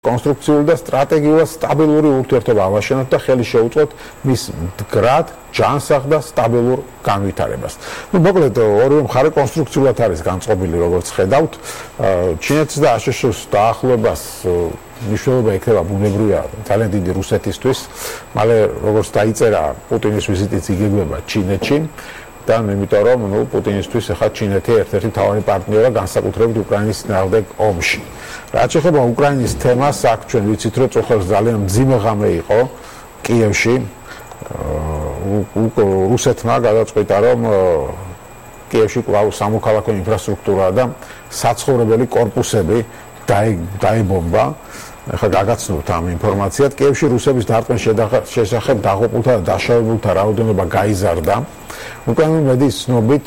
კონსტრუქციული და სტრატეგიულად სტაბილური ურთიერთობა ავაშენოთ და ხელი შეუწყოთ მის მდგრად, ჯანსაღ და სტაბილურ განვითარებას. მოკლედ, ორივე მხარე კონსტრუქციულად არის განწყობილი, როგორც ხედავთ. ჩინეთის და აშშ-ის დაახლოებას მნიშვნელობა ექნება ბუნებრივია ძალიან დიდი რუსეთისთვის. მალე როგორც დაიწერა პუტინის ვიზიტიც იგეგმება ჩინეთში. და იმიტომ რომ პუტინისთვის ახლა ჩინეთი ერთ-ერთი მთავარი პარტნიორია განსაკუთრებით უკრაინის წინააღმდეგ ომში. რაც შეეხება უკრაინის თემას, აქ ჩვენ ვიცით რომ წუხელს ძალიან მძიმე ღამე იყო კიევში. რუსეთმა გადაწყვიტა რომ კიევში კვლავ სამოქალაქო ინფრასტრუქტურა და საცხოვრებელი კორპუსები დაიბომბა. ახლა გაგაცნობთ ამ ინფორმაციად. კიევში რუსების დარტყმის შესახებ დაღუპულთა და დაშავებულთა რაოდენობა გაიზარდა. უკრაინული მედიის ცნობით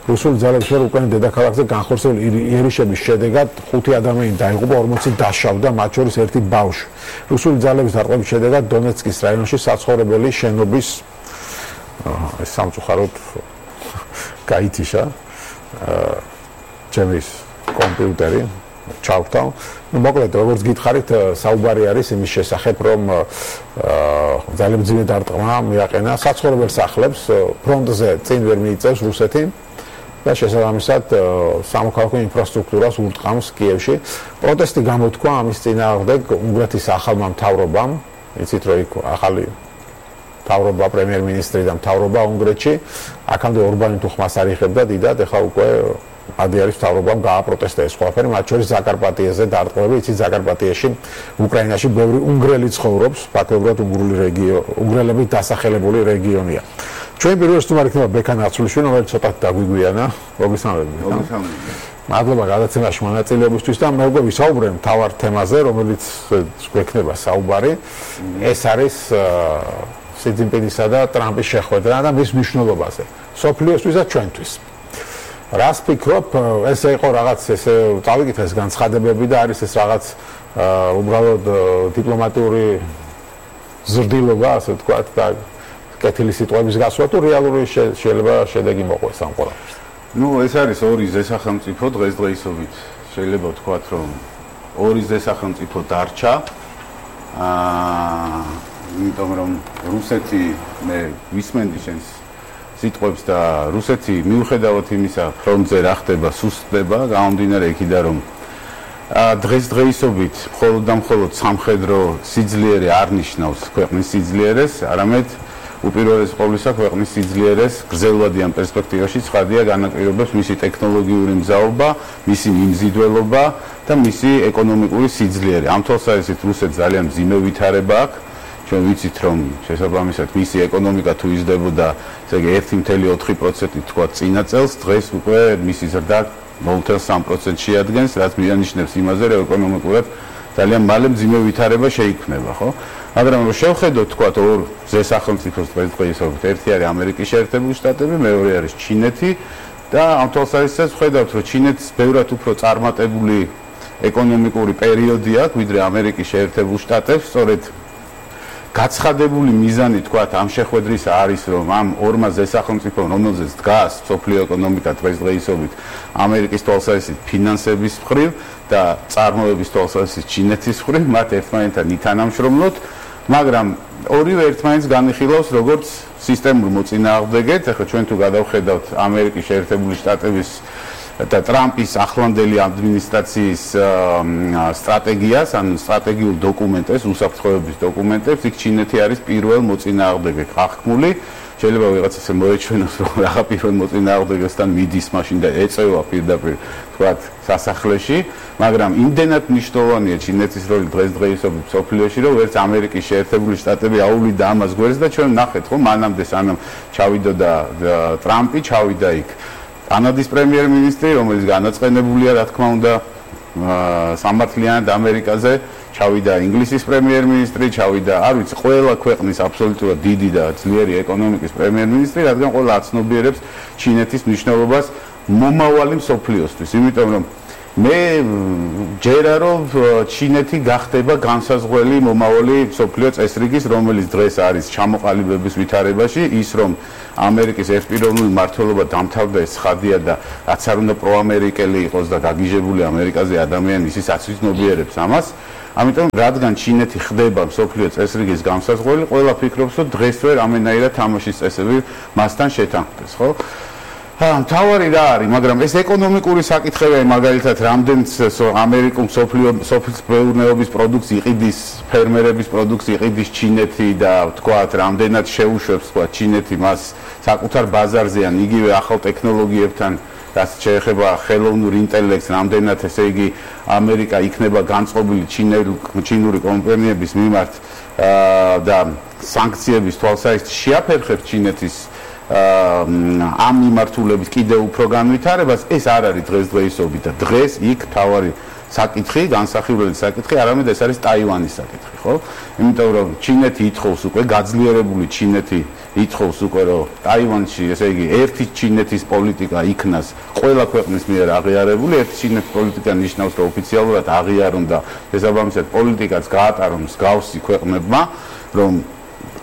რუსული ძალების მიერ უკრაინის დედაქალაქზე განხორციელებული იერიშების შედეგად 5 ადამიანი დაიღუპა, 40 დაშავდა, მათ შორის ერთი ბავშვი. რუსული ძალების დარტყმის შედეგად დონეცკის რაიონში საცხოვრებელი შენობის სამწუხაროდ გაითიშა ჩემი კომპიუტერი ჩავთავ. მოკლედ, როგორც გითხარით, საუბარი არის იმის შესახებ, რომ ძალიან მძიმე დარტყმა მიაყენა საცხოვრებელ სახლებს ფრონტზე წინ ვერ მიიწევს რუსეთი და შესაბამისად სამოქალაქო ინფრასტრუქტურას ურტყამს კიევში. პროტესტი გამოთქვა ამის წინააღმდეგ უნგრეთის ახალმა მთავრობამ, იცით რომ იქ ახალი მთავრობა, პრემიერ-მინისტრი და მთავრობა უნგრეთში, აქამდე ორბანი თუ ხმას არ იხებდა დიდად, ეხლა უკვე ადი არის მთავრობამ გააპროტესტა ეს ყველაფერი, მათ შორის ზაკარპატიეზე დარტყმები, იცით ზაკარპატიაში, უკრაინაში ბევრი უნგრელი ცხოვრობს, ფაქტობრივად უნგრელებით დასახელებული რეგიონია. ჩვენ პირველ სტუმარი იქნება ბექა ნაცვლიშვილი, რომელიც ცოტათი დაგვიგვიანა. მოგესალმებით. მადლობა გადაცემაში მონაწილეობისთვის და მე უკვე ვისაუბრე მთავარ თემაზე, რომელიც გვექნება საუბარი. ეს არის სი ძინპინისა და ტრამპის შეხვედრა და მის მნიშვნელობაზე სოფლიოსთვის და ჩვენთვის. რას ფიქრობ, ესე იყო რაღაც ესე წავიკითხე ეს განცხადებები და არის ეს რაღაც უბრალოდ დიპლომატიური ზრდილობა, ასე ვთქვათ და კეთილი სიტყვების გასვლა თუ რეალური შეიძლება შედეგი მოყვეს ამ ყველაფერს. ეს არის ორი ზესახელმწიფო დღესდღეობით. შეიძლება ვთქვათ, რომ ორი ზესახელმწიფო დარჩა. იმიტომ რომ რუსეთი მე ვისმენდი შენს სიტყვებს და რუსეთი მიუხედავად იმისა, ფრონტზე რა ხდება, სუსტდება, გამომდინარე იქიდან რომ დღესდღეობით მხოლოდ და მხოლოდ სამხედრო სიძლიერე არ ნიშნავს ქვეყნის სიძლიერეს, არამედ უპირველეს ყოვლისა ქვეყნის სიძლიერეს გრძელვადიან პერსპექტივაში ცხადია განაპირობებს მისი ტექნოლოგიური მზაობა, მისი მიმზიდველობა და მისი ეკონომიკური სიძლიერე. ამ თვალსაზრისით რუსეთს ძალიან მძიმე ვითარება აქვს. ჩვენ ვიცით რომ შესაბამისად მისი ეკონომიკა თუ იზრდებოდა, ესე იგი 1.4% თქვა წინა წელს, დღეს უკვე მისი ზრდა 0.3% შეადგენს, რაც მიანიშნებს იმაზე, რომ ეკონომიკურად ძალიან მალე მძიმე ვითარება შეიქმნება, ხო? მაგრამ რომ შევხედოთ თქვა ორ ზესახელმწიფოს დღესდღეობით, ერთი არის ამერიკის შეერთებული შტატები, მეორე არის ჩინეთი და ამ თვალსაზრისით ვხედავთ, რომ ჩინეთს ბევრად უფრო წარმატებული ეკონომიკური პერიოდი აქვს, ვიდრე ამერიკის შეერთებულ შტატებს, სწორედ გაცხადებული მიზანი თქვათ ამ შეხვედრის არის რომ ამ ორმა ზესახელმწიფომ რომელზეც დგას სოფლიო ეკონომიკა დღესდღეობით ამერიკის თვალსაზრისით ფინანსების მხრივ და წარმოების თვალსაზრისით ჩინეთის მხრივ მათ ერთმანეთთან ითანამშრომლოთ, მაგრამ ორივე ერთმანეთს განიხილავს როგორც სისტემურ მოწინააღმდეგეთ. ახლა ჩვენ თუ გადავხედავთ ამერიკის შეერთებული შტატების და ტრამპის ახლანდელი ადმინისტრაციის სტრატეგიას, ან სტრატეგიულ დოკუმენტებს, უსაფრთხოების დოკუმენტებს, იქ ჩინეთი არის პირველ მოწინააღმდეგე აღქმული. შეიძლება ვიღაც ესე მოეჩვენოს, რომ რაღა პირველ მოწინააღმდეგესთან მიდის მაშინ და ეწევა პირდაპირ თქვათ სასახლეში, მაგრამ იმდენად მნიშვნელოვანია ჩინეთის როლი დღესდღეობით სოფლიოში, რომ ვერც ამერიკის შეერთებული შტატები აუვლიდა ამას გვერდს და ჩვენ ნახეთ, რომ მანამდე სანამ ჩავიდოდა ტრამპი, ჩავიდა იქ კანადის პრემიერ-მინისტრი, რომელიც განაწყენებულია, რა თქმა უნდა, სამართლიანად ამერიკაზე, ჩავიდა ინგლისის პრემიერ-მინისტრი, ჩავიდა, არ ვიცი, ყველა ქვეყნის აბსოლუტურად დიდი და ძლიერი ეკონომიკის პრემიერ-მინისტრი, რადგან ყველა აცნობიერებს ჩინეთის მნიშვნელობას მომავალი მსოფლიოსთვის, იმიტომ რომ მე ჯერა რომ ჩინეთი გახდება განსაზღვრელი მომავალი მსოფლიო წესრიგის, რომელიც დღეს არის ჩამოყალიბების ვითარებაში, ის რომ ამერიკის ერთპიროვნული მმართველობა დამთავრდა, ეს ცხადია და რაც არ უნდა პროამერიკელი იყოს და გაგიჟებული ამერიკაზე ადამიანი, ის აცნობიერებს ამას. ამიტომ რადგან ჩინეთი ხდება მსოფლიო წესრიგის გამსაზღვრელი, ყველა ფიქრობს, რომ დღესვე რამენაირად თამაშის წესები მასთან შეთანხმდეს, ხო? მთავარი რა არის, მაგრამ ეს ეკონომიკური საკითხებია, მაგალითად, რამდენიც ამერიკულ სოფლის მეურნეობის პროდუქტს იყიდის, ფერმერების პროდუქტს იყიდის ჩინეთი და თქვათ, რამდენად შეუშვებს თქვათ ჩინეთი მას საკუთარ ბაზარზე ან იგივე ახალ ტექნოლოგიებთან, რაც შეეხება ხელოვნურ ინტელექტს, რამდენად ესე იგი ამერიკა იქნება განწყობილი ჩინური კომპანიების მიმართ და სანქციების თვალსაზრისით შეაფერხებს ჩინეთის ამ მიმართულების კიდევ უფრო განვითარებას, ეს არ არის დღესდღეობით და დღეს იქ თავარი საკითხი, განსახილველი საკითხი, არამედ ეს არის ტაივანის საკითხი, ხო? იმიტომ რომ ჩინეთი ითხოვს უკვე, გაძლიერებული ჩინეთი ითხოვს უკვე, რომ ტაივანში, ესე იგი, ერთი ჩინეთის პოლიტიკა იქნას ყველა ქვეყნის მიერ აღიარებული, ერთი ჩინეთის პოლიტიკა ნიშნავს, რომ ოფიციალურად აღიარონ და შესაბამისად პოლიტიკაც გაატარონ მსგავსი ქვეყნებმა, რომ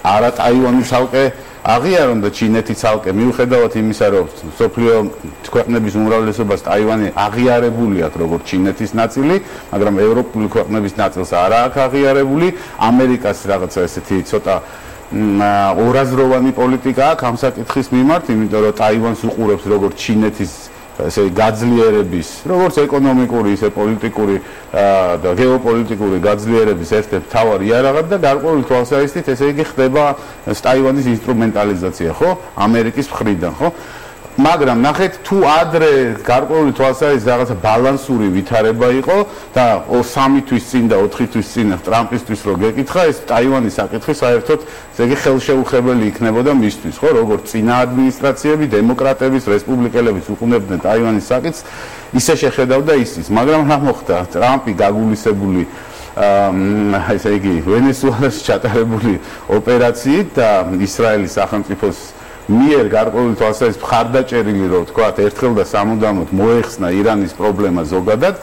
არა ტაივანი ცალკე აღიარონ და ჩინეთი ცალკე მიუხედავად იმისა, რომ სოფლიო ქვეყნების უმრავლესობას ტაივანი აღიარებული აქვს როგორც ჩინეთის ნაწილი, მაგრამ ევროპული ქვეყნების ნაწილს არა აქვს აღიარებული, ამერიკას რაღაცა ესეთი ცოტა ორაზროვანი პოლიტიკა აქვს ამ საკითხის მიმართ, იმიტომ რომ ტაივანს უყურებს როგორც ჩინეთის ესე გაძლიერების, როგორც ეკონომიკური, ისე პოლიტიკური და გეოპოლიტიკური გაძლიერების ერთ-ერთი მთავარი იარაღი და გარკვეული თვალსაზრისით ესე იგი ხდება ტაივანის ინსტრუმენტალიზაცია, ხო? ამერიკის მხრიდან, ხო? მაგრამ ნახეთ, თუ ადრე გარკვეული თვალსაზრისით რაღაცა ბალანსური ვითარება იყო და 3 თვის წინ და 4 თვის წინ ტრამპისთვის რო გეკითხა, ეს ტაივანის საკითხი საერთოდ ესე იგი ხელშეუხებელი იქნებოდა მისთვის, ხო? როგორც წინა ადმინისტრაციები, დემოკრატების, რესპუბლიკელებიც უყურებდნენ ტაივანის საკითხს, ისე შეხედავდა ისიც, მაგრამ რა მოხდა? ტრამპი გაგულისებული ესე იგი ვენესუელაში ჩატარებული ოპერაციით და ისრაელის სახელმწიფოს მიერ გარკვეული თვალსაზრისით მხარდაჭერილი, რომ თქვათ, ერთხელ და სამუდამოდ მოეხსნა ირანის პრობლემა ზოგადად,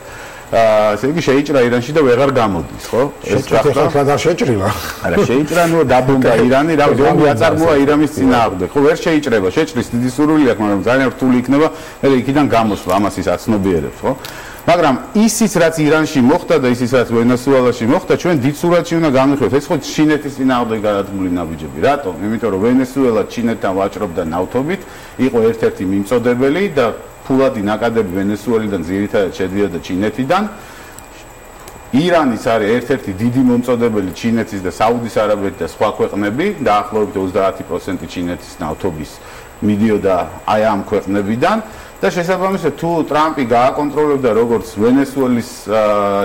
ესე იგი შეიჭრა ირანში და ვეღარ გამოდის, ხო? ეს ხალხად არ შეჭრილა. არა, შეიჭრა, ნუ დაბომბა ირანი, რა ზომბი აწარმოა ირანის წინააღმდეგ. ხო, ვერ შეიჭრება, შეჭრის დიდი სურვილი აქვს, მაგრამ ძალიან რთული იქნება, მე იქიდან გამოსვლა, ამას ის აცნობიერებს, ხო? მაგრამ ისიც რაც ირანში მოხდა და ისიც რაც ვენესუელაში მოხდა, ჩვენ დიდ სურათში უნდა განვიხილოთ. ეს ხო ჩინეთის წინააღმდეგ გადადგმული ნაბიჯები. რატომ? იმიტომ რომ ვენესუელა ჩინეთთან ვაჭრობდა ნავთობით, იყო ერთ-ერთი მიმწოდებელი და ფულადი ნაკადები ვენესუელიდან ძირითადად შედიოდა ჩინეთიდან. ირანის არის ერთ-ერთი დიდი მომწოდებელი ჩინეთის და საუდის არაბეთის და სხვა ქვეყნები, დაახლოებით 30% ჩინეთის ნავთობის მიდიოდა აი ამ ქვეყნებიდან. და შესაბამისად თუ ტრამპი გააკონტროლებდა როგორც ვენესუელის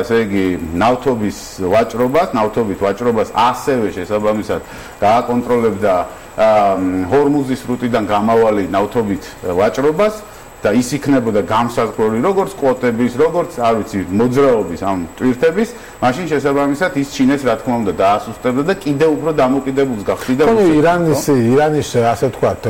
ესე იგი ნავთობის ვაჭრობას, ასევე შესაბამისად გააკონტროლებდა ჰორმუზის სრუტიდან გამავალი ნავთობით ვაჭრობას და ის იქნებოდა გამსაზღვრული როგორც კვოტების, როგორც არ ვიცი, მოძრაობის ამ ტვირთების, მაშინ შესაბამისად ის ჩინეთს რა თქმა უნდა დაასუსტებდა და კიდევ უფრო დამოკიდებულს გახდიდა ირანის ასე ვთქვათ,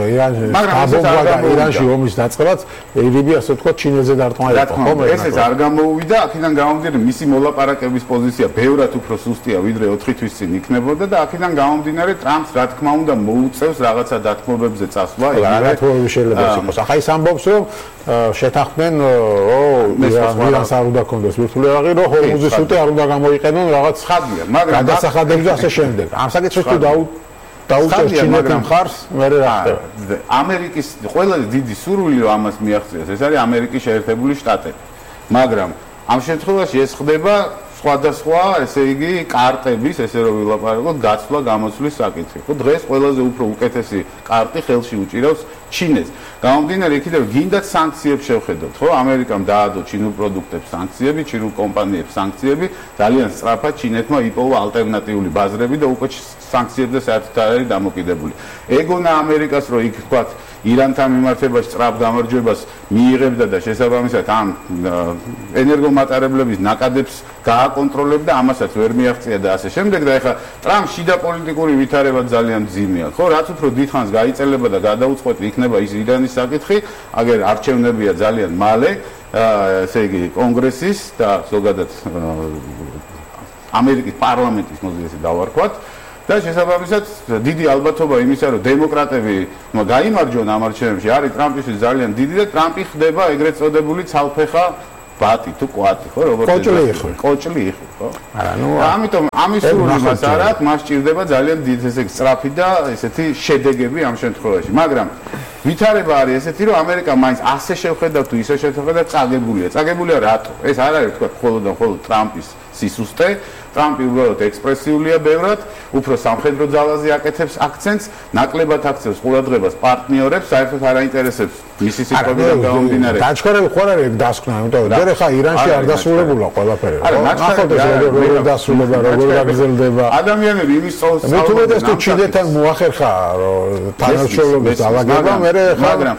ირანში ომის დაწყებაც ირიბი ასე ვთქვათ ჩინეთზე დარტყმა იყო, ხო? ესეც არ გამოუვიდა, აქედან გამომდინარე მისი მოლაპარაკების პოზიცია ბევრად უფრო სუსტია, ვიდრე 4 თვის წინ იქნებოდა და აქედან გამომდინარე ტრამპს რა თქმა უნდა მოუწევს რაღაცა დათმობებზე წასვლა, რა თქმა შეიძლება იყოს. ახლა ის ამბობს, რომ შეთანხმდნენ, ირანს არ უნდა კონდეს ვირტუალური აღი, რომ ჰორმუზის სრუტი არ უნდა გამოიყენონ რაღაც ხადია, მაგრამ გადასახადები და ასე შემდეგ. ამ საკითხს თუ დაუჭერს ჩინეთთან მხარს, მე რა ხდება? ამერიკის ყველაზე დიდი სურვილი რომ ამას მიაღწიოს, ეს არის ამერიკის შეერთებული შტატები. მაგრამ ამ შემთხვევაში ეს ხდება სხვადასხვა, ესე იგი, კარტების, ესე რომ ვილაპარაკოთ, გაცვლა გამოცვლის საკითხი. ხო, დღეს ყველაზე უფრო უკეთესი კარტი ხელში უჭირავს ჩინეთს. გამომდინარე იქიდან გინდათ სანქციებს შევხედოთ, ხო? ამერიკამ დაადო ჩინურ პროდუქტებს სანქციები, ჩინურ კომპანიებს სანქციები, ძალიან სწრაფად ჩინეთმა იპოვა ალტერნატიული ბაზრები და უკვე სანქციებზე საერთოდ არ არის დამოკიდებული. ეგონა ამერიკას, რომ იქ თქვათ ირანთან მიმართებაში სწრაფ გამარჯვებას მიიღებდა და შესაბამისად ამ ენერგომატარებლების ნაკადებს გააკონტროლებდა, ამასაც ვერ მიაღწია და ასე შემდეგ და ეხლა ტრამპ შიდა პოლიტიკური ვითარება ძალიან მძიმეა, ხო? რაც უფრო დიდხანს გაიწელება და გადაუწყვეტი იქნება ის ირანის საკითხი, აგერ არჩევნებია ძალიან მალე, ესე იგი კონგრესის და ზოგადად ამერიკის პარლამენტის მოძიესი დავარქვათ. და შესაბამისად დიდი ალბათობა იმისა, რომ დემოკრატები გაიმარჯვონ ამ არჩევნებში, არის ტრამპისთვის ძალიან დიდი და ტრამპი ხდება ეგრეთ წოდებული ცალფეხა ბატი თუ კვატი ხო როგორც კოჭლი იხრი ხო არა ნუ ამიტომ ამის სრული მას არ აქვს მას ჭირდება ძალიან დიდი ესე სწრაფი და ესეთი შედეგები ამ შემთხვევაში მაგრამ ვითარება არის ესეთი რომ ამერიკა მაინც ასე შევხედა თუ ისე შევხედა წაგებულია რატო ეს არ არის თქვა მხოლოდ ტრამპის სისუსტე ტრამპი უბრალოდ ექსპრესიულია ბევრად უფრო სამხედრო ძალაზე აკეთებს აქცენტს ნაკლებად აქცევს ყურადღებას პარტნიორებს საერთოდ არ აინტერესებს მისი სიტყვებიდან გამომდინარე დაჩქარები ხო არ არის დასკვნა იმიტომ რომ ხა ირანში არ დასრულებულა ყველაფერი ნახოთ როგორ დასრულება როგორ გაგრძელდება ადამიანები იმის სწავლს მე თუ მეც თუ ჩინეთთან მოახერხა რომ თანამშრომლობის დაალაგება მე მაგრამ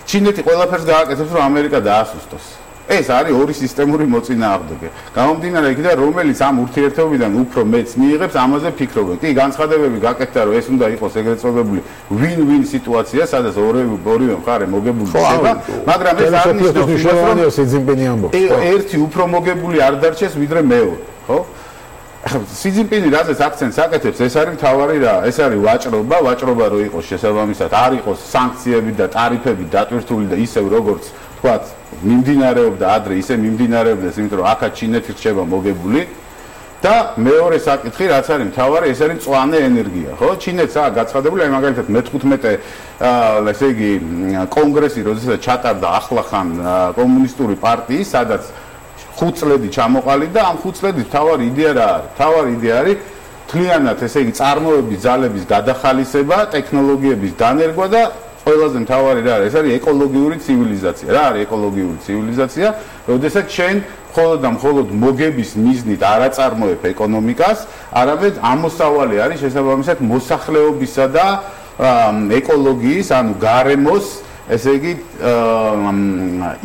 ჩინეთი ყველაფერს გააკეთებს რომ ამერიკა დაასუსტოს ეს არის ორი სისტემური მოწინააღმდეგე. გამომდინარე იქიდან რომელიც ამ ურთიერთობიდან უფრო მეც მიიღებს, ამაზე ფიქრობენ. კი, განცხადებები გაკეთდა, რომ ეს უნდა იყოს ეგრეთ წოდებული win-win სიტუაცია, სადაც ორივე მხარე მოგებული ხდება, მაგრამ ეს არ ნიშნავს, რომ სი ძინპინი ამბობს. ერთი უფრო მოგებული არ დარჩეს, ვიდრე მეორე, ხო? სი ძინპინი რაზეც აქცენტს აკეთებს, ეს არის მთავარი რა, ეს არის ვაჭრობა რო იყოს შესაბამისად, არ იყოს სანქციები და ტარიფები დატვირთული და ისევ როგორც თქვათ მიმდინარეობდა ადრე ისე მიმდინარეობდეს იმიტომ რომ აქაც ჩინეთი რჩება მოგებული და მეორე საკითხი რაც არის მთავარი ეს არის მწვანე ენერგია ხო ჩინეთს აქვს გაცხადებული აი მაგალითად მე-15 ესე იგი კონგრესი როდესაც ჩატარდა ახლახან კომუნისტური პარტიის სადაც 5 წლები ჩამოყალიბდა ამ 5 წლების მთავარი იდეა რა არის მთავარი იდეა არის თლიანად ესე იგი წარმოების ძალების გადახალისება ტექნოლოგიების დანერგვა და ყველაზე მთავარი რა არის ეს არის ეკოლოგიური ცივილიზაცია რა არის ეკოლოგიური ცივილიზაცია როდესაც შენ მხოლოდ მოგების მიზნით არ აწარმოებ ეკონომიკას არამედ ამოსავალი არის შესაბამისად მოსახლეობისა და ეკოლოგიის ანუ გარემოს ესე იგი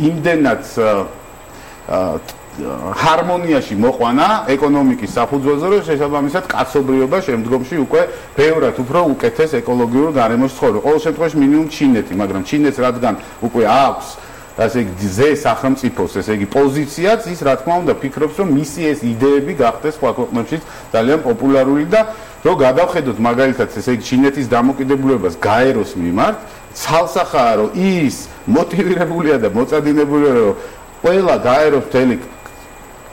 იმდენად ჰარმონიაში მოყვანა ეკონომიკის საფუძველზე რომ შესაბამისად კაცობრიობა შემდგომში უკვე ბევრად უფრო უკეთეს ეკოლოგიურ გარემოში ცხოვრობს. ყოველ შემთხვევაში მინიმუმ ჩინეთი, მაგრამ ჩინეთს რადგან უკვე აქვს ასე იგი ზე სახელმწიფოს ესე იგი პოზიციაც ის რა თქმა უნდა ფიქრობს რომ მისი ეს იდეები გახდეს სხვა ქვეყნებშიც ძალიან პოპულარული და რომ გადავხედოთ მაგალითად ესე იგი ჩინეთის დამოკიდებულებას გაეროს მიმართ ცალსახაა რომ ის მოტივირებულია და მოწადინებულია რომ ყველა გაეროს მთელი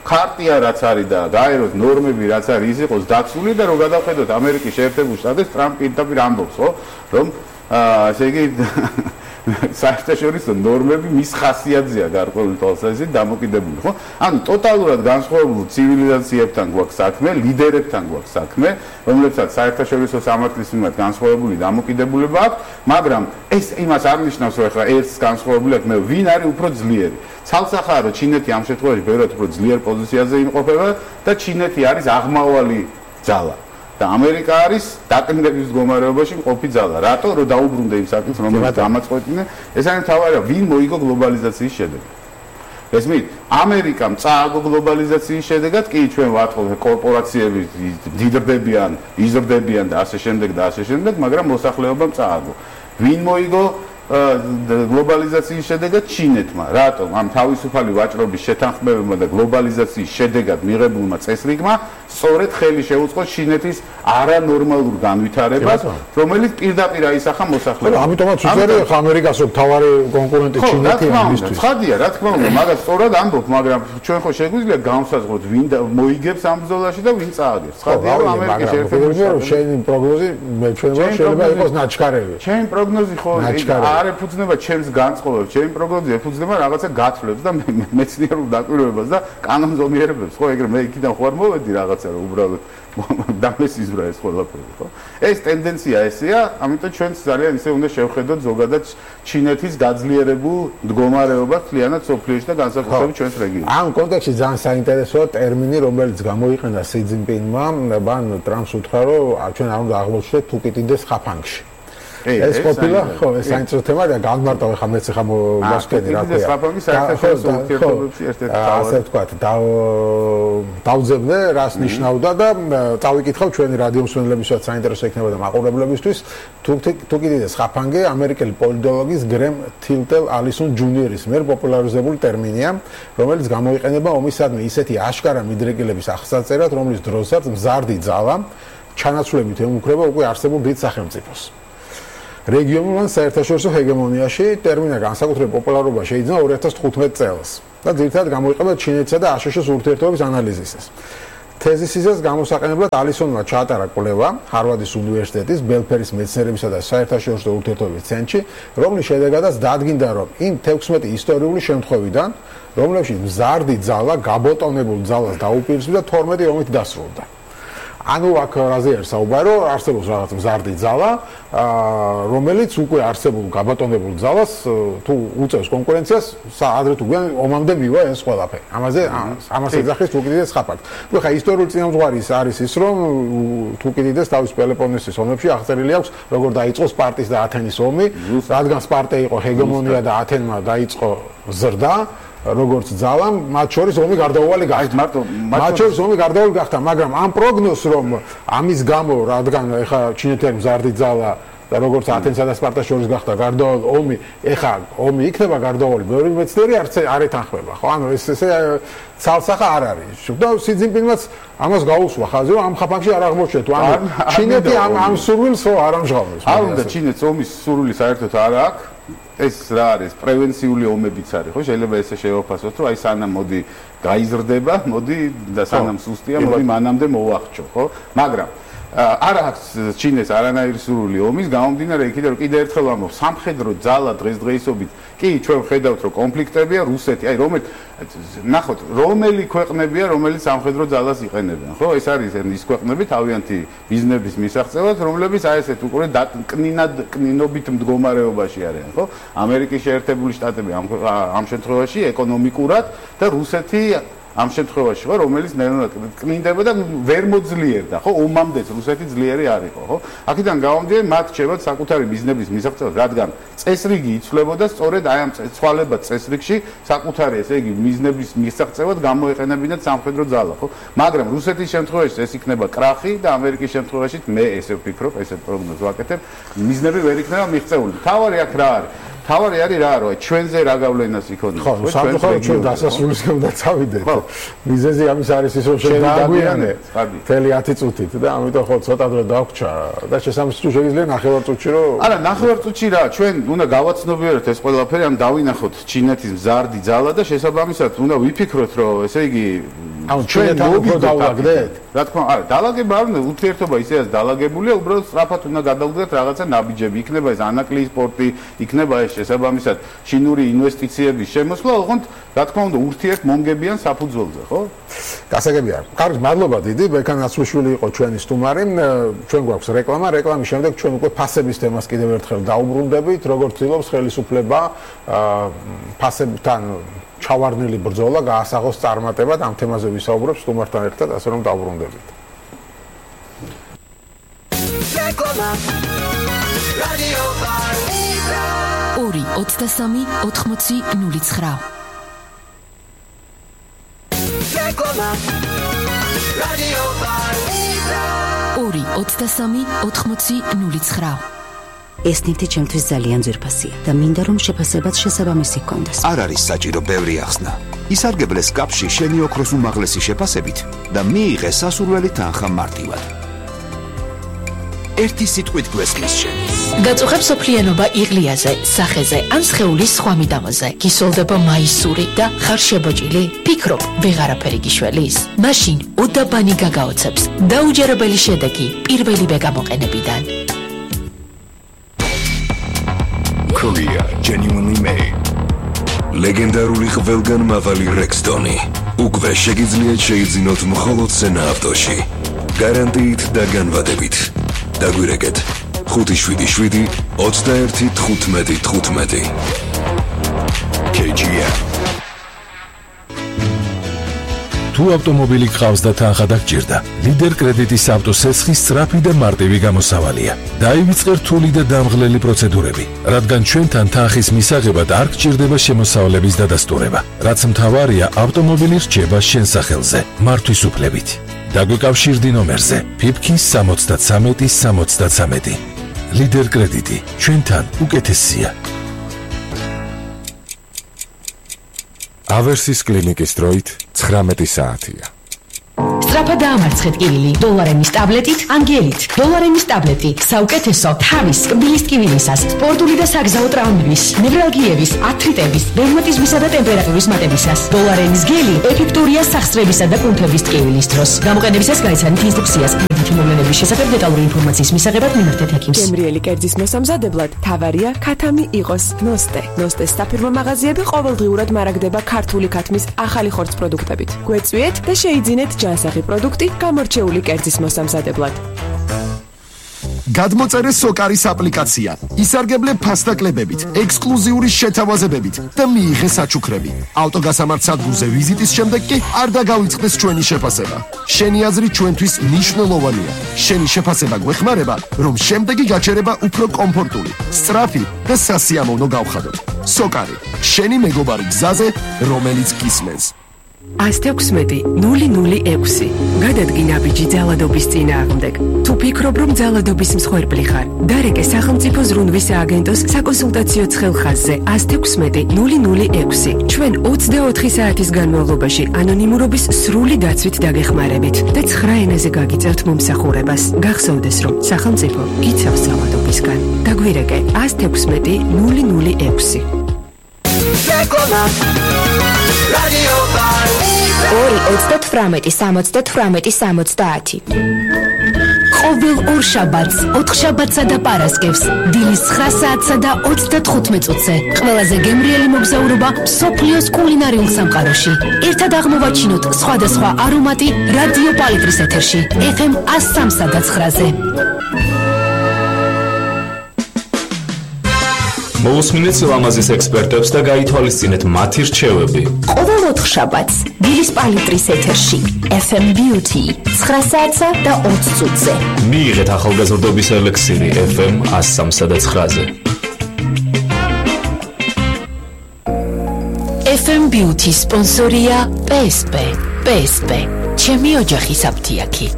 ქარტია რაც არის და გაეროს ნორმები რაც არის ის იყოს დაცული და რომ გადავხედოთ ამერიკის შეერთებულ შტატებს ტრამპი პირდაპირ ამბობს ხო რომ ესე იგი საერთაშორისო ნორმები მის ხასიათზეა გარკვეული თვალსაზრისით დამოკიდებული ხო ანუ ტოტალურად განსხვავებულ ცივილიზაციებთან გვაქვს საქმე ლიდერებთან გვაქვს საქმე რომლებსაც საერთაშორისო სამართლის მიმართ განსხვავებული დამოკიდებულება აქვს მაგრამ ეს იმას არ ნიშნავს რომ ახლა ერთს განსხვავებული აქვს მე ვინ არის უფრო ძლიერი ცალსახაა რომ ჩინეთი ამ შემთხვევაში ბევრად უფრო ძლიერ პოზიციაზე იმყოფება და ჩინეთი არის აღმავალი ძალა და ამერიკა არის დაკნინების მდგომარეობაში მყოფი ძალა. რატო? რომ დაუბრუნდა იმ საკითხს, რომელიც დამაწყვეტინა. ეს არის მთავარი, ვინ მოიგო გლობალიზაციის შედეგად. ესმით, ამერიკამ წააგო გლობალიზაციის შედეგად, კი ჩვენ ვატყობთ კორპორაციები დიდრდებიან, იზრდებიან და ასე შემდეგ, მაგრამ მოსახლეობამ წააგო. ვინ მოიგო გლობალიზაციის შედეგად ჩინეთმა. რატომ? ამ თავისუფალი ვაჭრობის შეთანხმებებმა და გლობალიზაციის შედეგად მიღებულმა წესრიგმა სწორედ ხელი შეუწყო ჩინეთის არანორმალურ განვითარებას, რომელიც პირდაპირ აისახა მოსახლეობას. ამიტომაც უწევია ხა ამერიკას რომ თავარი კონკურენტი ჩინეთი ამისთვის. ხადია, რა თქმა უნდა, მაგას სწორად ამბობ, მაგრამ ჩვენ ხო შეგვიძლია გავსაზღვროთ ვინ მოიგებს ამ ბრძოლაში და ვინ წააგებს. ხადია, რომ ამერიკის შეერთებული შტატები შენი პროგნოზი მე ჩვენ შეიძლება იყოს ნაჩქარევი. ჩემი პროგნოზი ხო არ ეფუძნება ჩემს განწყობებს, ჩემი პროგნოზი ეფუძნება რაღაცა გათვლებს და მეცნიერულ დაკვირვებას და კანონზომიერებებს, ხო, ეგრე მე იქიდან ხო არ მოვედი რაღაცა რომ უბრალოდ დამესიზრა ეს ყველაფერი, ხო? ეს ტენდენცია ესეა, ამიტომ ჩვენც ძალიან ისე უნდა შევხედოთ ზოგადად ჩინეთის გაძლიერებულ მდგომარეობას მთლიანად სოფლიოში და განსაკუთრებით ჩვენს რეგიონში. ამ კონტექსტში ძალიან საინტერესოა ტერმინი, რომელიც გამოიყენა სი ძინპინმა, მან ტრამპს უთხრა, რომ ჩვენ არ უნდა აღმოჩნდეთ თუკიტიდეს ხაფანგში. ეს ყოფილა ხო ეს საინტერესო თემა და განმარტავ ხა მეც ხა მოსკენი რა ქვია საერთაშორისო ურთიერთობებში ერთ-ერთი ასე ვთქვათ დავძებნე რას ნიშნავდა და წავიკითხავ ჩვენი რადიო მსმენელებისაც საინტერესო იქნება და მაყურებლებისთვის თუკიტიდეს ხაფანგი ამერიკელი პოლიტოლოგის გრემ თილტელ ალისონ ჯუნიერის მიერ პოპულარიზებული ტერმინია რომელიც გამოიყენება ომისადმი ისეთი აშკარა მიდრეკილების აღსაწერად რომლის დროსაც მზარდი ძალა ჩანაცვლებით ემუქრება უკვე არსებულ დიდ სახელმწიფოს რეგიონულ ან საერთაშორისო ჰეგემონიაში ტერმინა განსაკუთრებით პოპულარობა შეიძინა 2015 წელს და ძირითადად გამოიყენება ჩინეთისა და აშშ-ის ურთიერთობების ანალიზისას. თეზისისას გამოსაყენებლად ალისონმა ჩაატარა კვლევა ჰარვარდის უნივერსიტეტის ბელფერის მეცნიერებისა და საერთაშორისო ურთიერთობების ცენტრში, რომლის შედეგადაც დადგინდა, რომ იმ 16 ისტორიული შემთხვევიდან, რომლებშიც მზარდი ძალა გაბატონებულ ძალას დაუპირისპირდა 12 ომით დასრულდა. ანუ აქ რაზე არის საუბარი, რომ არსებობს რაღაც მზარდი ძალა, რომელიც უკვე არსებულ გაბატონებულ ძალას თუ უწევს კონკურენციას, ადრე თუ გვიან ომამდე მივა ეს ყველაფერი. ამას ეძახის უკიდურეს ხაფაკს. ნუ ხა ისტორიული წინამძღვარი არის ის, რომ უკიდურეს თავის პელოპონესის ომებში აღწერილი აქვს, როგორ დაიწყო სპარტის და ათენის ომი, რადგან სპარტა იყო ჰეგემონია და ათენმა დაიწყო ზრდა. როგორც ძალამ, მათ შორის ომი გარდაუვალი გახდა. მათ შორის ომი გარდაუვალი გახდა, მაგრამ ამ პროგნოზს რომ ამის გამო, რადგან ეხა ჩინეთელი მზარდი ძალა და როგორც ათენსა და სპარტას შორის გახდა გარდაუვალი ომი, ეხა ომი იქნება გარდაუვალი, ბევრი მეცნიერი არ ეთანხმება, ხო? ანუ ესე ცალსახა არ არის. და სი ძინპინმაც ამას გაუსვა ხაზი, რომ ამ ხაფანში არ აღმოჩნდა. ანუ ჩინეთი ამ სურვილს არ ამჟღავნებს. არ უნდა ჩინეთს ომის სურვილი საერთოდ არ აქვს. ეს რა არის პრევენციული ომებიც არის ხო შეიძლება ესე შევაფასოთ რომ აი სანამ მოდი გაიზრდება მოდი და სანამ სუსტია მოდი მანამდე მოვახჩო ხო მაგრამ არ აქვს ჩინეს არანაირი სურვილი ომის გამომდინარე იქიდან რომ კიდე ერთხელ ვამბობ სამხედრო ძალა დღესდღეობით კი ჩვენ ხედავთ რომ კონფლიქტებია რუსეთი აი ნახოთ რომელი ქვეყნებია რომელიც სამხედრო ძალას იყენებენ ხო ეს არის ის ქვეყნები თავიანთი ბიზნესის მისაღწევად რომლებიც აი ესეთ უკვე კნინობით მდგომარეობაში არიან ხო ამერიკის შეერთებული შტატები ამ შემთხვევაში ეკონომიკურად და რუსეთი ამ შემთხვევაში ხო რომელიც ნელა კნინდება და ვერ მოძლიერდა ხო ომამდეც რუსეთი ძლიერი არ იყო ხო აქედან გამომდინარე მათ შევა საკუთარი ბიზნესის მისაღწევად რადგან წესრიგი იცვლებოდა სწორედ აი ამ ცვალებად წესრიგში საკუთარი ესე იგი ბიზნესის მისაღწევად გამოეყენებინათ სამხედრო ძალა ხო მაგრამ რუსეთის შემთხვევაში ეს იქნება კრახი და ამერიკის შემთხვევაში მე ესე ვფიქრობ ესეთ პროგნოზს ვაკეთებ ბიზნესი ვერ იქნება მიღწეული თავარი აქ რა არის თავარი არის რა რომ ჩვენზე რა გავლენას იქონია ხო სამწუხაროდ ჩვენ დასასრულისკენ უნდა წავიდეთ მიზეზი ამის არის ის რომ ჩვენ დაგვიანე მთელი 10 წუთით და ამიტომ ხო ცოტა დრო დაგვჭა და შესაძლოა თუ შეგიძლია ნახევარ წუთში რომ არა ნახევარ წუთში რა ჩვენ უნდა გავაცნობიეროთ ეს ყველაფერი ამ დავინახოთ ჩინეთის მზარდი ძალა და შესაბამისად უნდა ვიფიქროთ რომ ესე იგი ანუ ჩვენ დავაგდეთ რა თქმა არა დალაგება არ უნდა ურთიერთობა ისეაც დალაგებულია უბრალოდ სწრაფად უნდა გადავდგეთ რაღაცა ნაბიჯები იქნება ეს ანაკლიის სპორტი იქნება ეს შესაბამისად ჩინური ინვესტიციების შემოსვლა ოღონდ რა თქმა უნდა ურთიერთმონგებიან საფუძველზე ხო გასაგებია კარგი მადლობა დიდი ბექან აცვიშვილი იყო ჩვენი სტუმარი ჩვენ გვაქვს რეკლამის შემდეგ ჩვენ უკვე ფასების თემას კიდევ ერთხელ დაუბრუნდებით როგორც ცდილობს ხელისუფლება ფასებთან ჩავარდნილი ბრძოლა გაასაღოს წარმატებად ამ თემაზე ვისაუბრებ სტუმართან ერთად ასე რომ დაუბრუნდებით რეკლამა რადიო ბარ 2-23-80-09 რეკლამა რადიო ბარ 2-23-80-09 ეს ნივთი ჩემთვის ძალიან ძვირფასია და მინდა რომ შეფასებაც შესაბამისი ჰქონდეს. არ არის საჭირო ბევრი ახსნა. ისარგებლე სკაფში შენი ოქროს უმაღლესი შეფასებით და მიიღე სასურველი თანხა მარტივად. ერთი სიტყვით გვესმის შენ. გაწუხებ სოფლიანობა იღლიაზე, სახეზე ან სხეულის სხვა მიდამოზე. გისოლდება მაისური და ხარ შებოჭილი? ფიქრობ, ვეღარაფერი გიშველის? მაშინ უდაბანი გაგაოცებს. დაუჯერებელი შედეგი პირველივე გამოყენებიდან. Korea genuinely made. ლეგენდარული ყველგანმავალი Rexton-ი. უკვე შეგიძლიათ შეიძინოთ მხოლოდ სენა ავტოში. გარანტიით და განვადებით. დაგვირეკეთ 577 21 15 15. KGM. თუ ავტომობილი გყავს და თანხა დაგჭირდა, ლიდერ კრედიტის ავტოსესხის სწრაფი და მარტივი გამოსავალია. დაივიწყე რთული და დამღლელი პროცედურები, რადგან ჩვენთან თანხის მისაღებად არ გჭირდება შემოსავლების დადასტურება. რაც მთავარია, ავტომობილი რჩება შენ სახელზე, მართვის უფლებით. დაგვიკავშირდი ნომერზე PIPK 73 ლიდერ კრედიტი, ჩვენთან უკეთესია. ავერსის კლინიკის დროით 19 საათია. სწრაფად დაამარცხეთ კივილი დოლარენის ტაბლეტით ან გელით. დოლარენის ტაბლეტი საუკეთესო თავის კბილის ტკივილისას, სპორტული და საგზაო ტრავმების, ნევრალგიების, ართრიტების, რევმატიზმისა და ტემპერატურის მატებისას. დოლარენის გელი ეფექტურია სახსრებისა და კუნთების ტკივილის დროს. გამოყენებისას გაიცანით ინსტრუქციას. მოვლენების შესახებ დეტალური ინფორმაციის მისაღებად მიმართეთ ექიმს. გემრიელი კერძის მოსამზადებლად თავარია ქათამი იყოს ნოსტე. ნოსტეს საფირმო მაღაზიები ყოველდღიურად მარაგდება ქართული ქათმის ახალი ხორცს პროდუქტებით. გვეწვიეთ და შეიძინეთ ჯანსაღი პროდუქტი გამორჩეული კერძის მოსამზადებლად. გადმოწერე სოკარის აპლიკაცია. ისარგებლე ფასდაკლებებით, ექსკლუზიური შეთავაზებებით და მიიღე საჩუქრები. ავტოგასამართ სადგურზე ვიზიტის შემდეგ კი არ დაგავიწყდეს ჩვენი შეფასება. შენი აზრი ჩვენთვის მნიშვნელოვანია. შენი შეფასება გვეხმარება, რომ შემდეგი გაჩერება უფრო კომფორტული, სწრაფი და სასიამოვნო გავხადოთ. სოკარი, შენი მეგობარი გზაზე, რომელიც გისმენს. 116-006 გადადგინა ბიჭი ძალადობის წინააღმდეგ. თუ ფიქრობ, რომ ძალადობის მსხვერპლი ხარ, დარეკე სახელმწიფო ზრუნვის სააგენტოს საკონსულტაციო ცხელხაზზე 116-006. ჩვენ 24 საათის განმავლობაში ანონიმურობის სრული დაცვით დაგეხმარებით და 9 ენაზე გაგიწერთ მომსახურებას. გახსოვდეს, რომ სახელმწიფო იცავს ძალადობისგან. დაგვირეკე 116-006. 2-38-70-70. ყოველ ორ შაბათს, 4 შაბათსა და პარასკევს, დილის 9 საათსა და 35 წუთზე, ყველაზე გემრიელი მოგზაურობა მსოფლიოს კულინარიულ სამყაროში. ერთად აღმოვაჩინოთ სხვადასხვა არომატი რადიო პალიტრის ეთერში, FM 103 და 9-ზე. მოусმინეთ ლამაზის ექსპერტებს და გაითვალისწინეთ მათი რჩევები. ყოველ 4 შაბათს, დილის პალიტრის ეთერში, FM Beauty 9 საათსა და 20 წუთზე. მიიღეთ ახალგაზრდობის ელექსირი FM 103 და 9-ზე. FM Beauty სპონსორია PSP. PSP. ჩემი ოჯახის აფთიაქი.